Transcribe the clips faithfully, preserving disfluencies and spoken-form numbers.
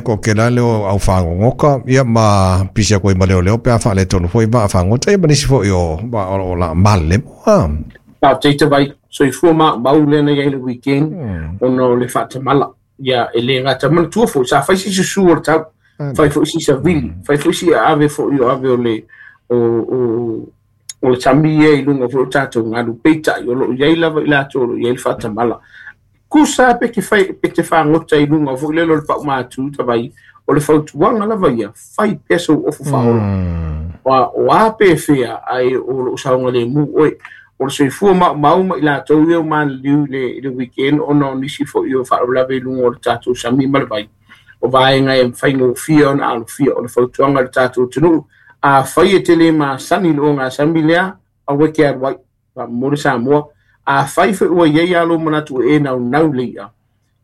ko ke la leo au whangongoka, ia ma pisia koe ma leo leo pe a whaale tonu foi ma whangota, ia ma nisi foi o, ma, o, o la male moa. Whāfetai te vai, soifua ma mau lena i le weekend, mm. Ona o le whaatamala. Ia, e le ngata mana tua foi, sa whai si susu o le tau, whai foi si sa vili, whai foi si ave foi o ave o le, o, o, o le tami e i lunga foi o tātou ngalu peitai, o lo iai lava i lātou, o lo iai le whaatamala. Kusa pe ke whai, pe te whangota i lunga foi lelo le pau mātu, tawai, o le whautuanga lava ia, whai peso ofu whaola. Mm. O, o a pe whea, ai o lo saunga le mu, oi, o le soifua ma mau ma i lātou ia o māliu le, le weekend, ona o nisi foi o whaolave i lunga o le tātou sami ma le vai. O vaenga e whaingofia ona alofia, o le whautuanga le tātou tunu. A whai e tele ma sani lo ngā sami lea, a weke aru ai, pa more Samoa. A whai whai ua iei alo manatu e nau nau leia.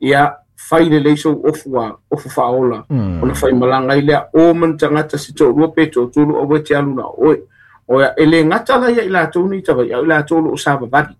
Ia whai le leiso ofu a, ofu whaola. Mm. Ona whai malanga i lea, o man tangata si tō rua pe tō tūru o wete aluna oe. O ia, e le ngata la ia i lātou ni tawai, au i lātou lo o sāvavali.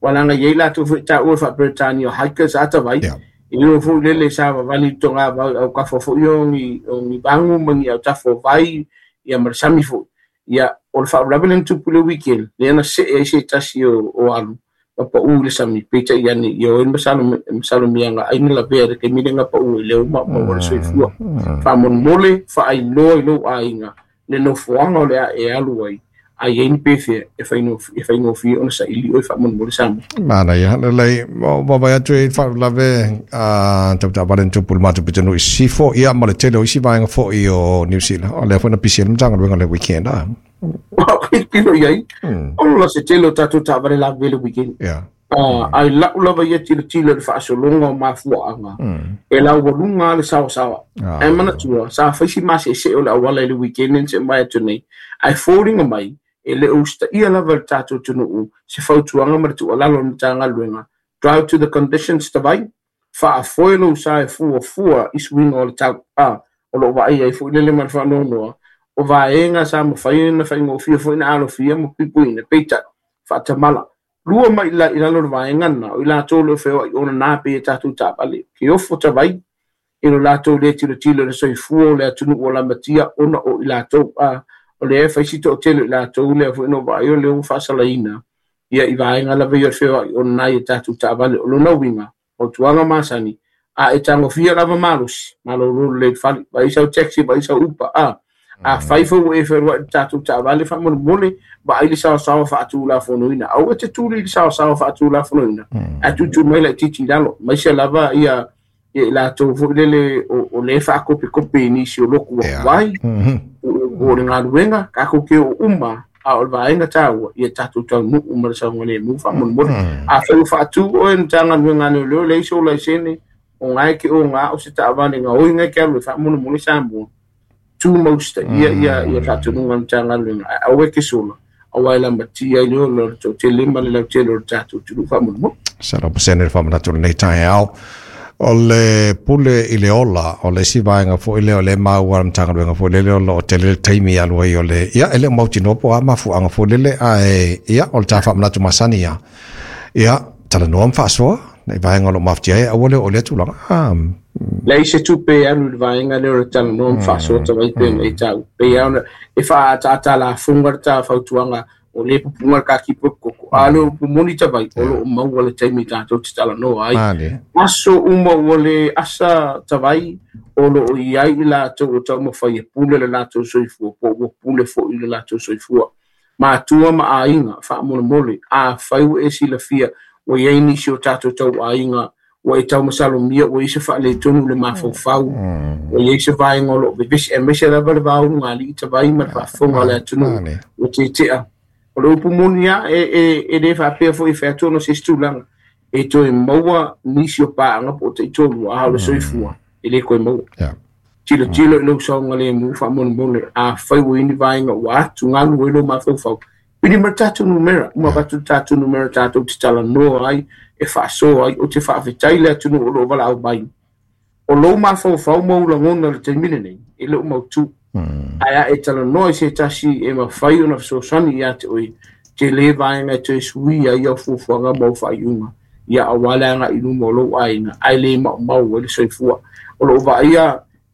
Walanga ia i lātou fwe tā ua wha Britania hikers a tawai. Yeah. I leo fo lele sāvavali tō ngā vau au kafo fo i o ngi bangu mangi au tafo vai ia marasami fo. Ia, o le whaurawe le tupu le weekend, le ana se e se tasi o, o alu. Papa u le sami peita i ane i o masalo masalo mianga ai na lavea le ke mile ngā pa u i leo ma ma o le soifua. Wha wha ai loa i lo ainga le nofoanga o le a e alu ai ai e ni pefe e whaino e whaino fi ona sa ili o wha mon mole samu. Mana ia le lei o baba ia tui wha lave a tau ta valen tupu le mātu pitanu i sifo ia ma le tele o isi vaenga fo i o New Zealand. O lea fo na pisi ele mtanga luenga le weekend a. Pilo iai. O la se tele o tātou ta vale la vele weekend. Yeah. Uh, ai lau lava ia tilo tilo le whaasolonga o mafuaanga. Mm. E lau walunga le sawa sawa. Ah. E manatua, sa whaisi mase se o le awala i le weekend se mai atu nei. Ai fōringa mai, e le usta ia lava le tātou tunuu, se fautuanga ma le tualalo na tānga luenga. Drive to the conditions te vai, whaafoelo sa e fua fua i suinga o le tau. Ah, o lo vai ai fo lele ma le whaanonoa. O vaenga sa mawhai na whaingofia fo ina alofia mo pipuina, peita, whaatamala. Lua mai la i lalo le vaenga na, o i lātou le whewa i ona nā pe e tātou tāpale. Ke ofo ta vai, i lo lātou le tilo tilo le soifua o le atunu o la matia ona o i lātou a o le e whaisito o tele i lātou le afo ino vai o le o whaasalaina. Ia i vaenga la vei o le whewa i ona nā i e tātou tāpale o lona winga, o tuanga masani, a e tangofia lava malosi, malo lolo le whali, vai sau taxi, vai sau upa, a a whaifo e wherua i tātou tāwale whamone ba ai le sawa sawa whaatu la fonoina. Au e te tūri le sawa sawa whaatu la fonoina. A tūtū mai la titi lalo. Mai se lava ia i lātou fo lele o, o le whaakope kope i nisi o loku wa wai. O le ngā kako ke o uma a o le vaenga tāua ia tātou tau nuu ma le saunga le mu whamone. A whai whaatu o e tānga nuenga neo leo leisi o laisene o ngai ke o ngā o se tāwane ngā oi ngai ke alu e whamone mone Samoa. Tū mausta ia ia ia tātou nunga tānga luenga au e ke sola au ai la matia i leo lo tō te lima le lau tele o tātou tū whamone. Sara pasene le whamanatu le nei tae au. O le pule i le ola, o le isi vaenga fo i le o le maua mtanga luenga fo le le o tele le taimi alu ai o le ia ele mauti nopo a mafuanga fo lele a e ia o le tā whamanatu masani ia. Ia tala noa mwhaasoa nei vaenga o lo maftia e au le o le tūlanga. Ah, Lei se tupe alu le vaenga le o le tala noa mwhaasoa ta vai pena i tau. Pe ia ona e wha ata la funga ta fautuanga o le pupunga ka ki koko. A le pumoni ta vai o lo maua le taimi tātou te tala noa ai. Aso uma o le asa ta vai o lo o iai i lātou o tau mawhai e pule le lātou soifua po o pule fo i le lātou soifua. Mātua ma ainga whaamolemole a whaiwa e silafia o iai nisi o tātou tau ainga o e tau masalomia o i se whaale tonu le mawhauwhau o i se vaenga o lo vevesi e mese lava le vau ngā li i ta vai ma le whaafonga le atunu o te tea. O le upu moni a e, e, e le whaapea fo i wheatono se stulanga e toe maua nisi o pāanga po te i tolu a hau le soifua e le koe maua. Tilo tilo i lau saunga le mu whaamonemole a whaiwa ini vaenga o atu ngalu e lo mawhauwhau. Pini ma tātou numera, uma batu tātou numera tātou te tala noa ai, e whaasoa ai, o te whaawhetai le atunu o lo wala au mai. O lo mawhauwhau maula ngona le teimine nei, e leo mautu. Ai a e tala noa i se tasi e mawhai ona whasosani ia te oi, te le vaenga e te sui ai au fufuanga mau whaiunga. Ia a wale anga i luma o lou ainga, ai le mau mau e le soifua. O lo vaia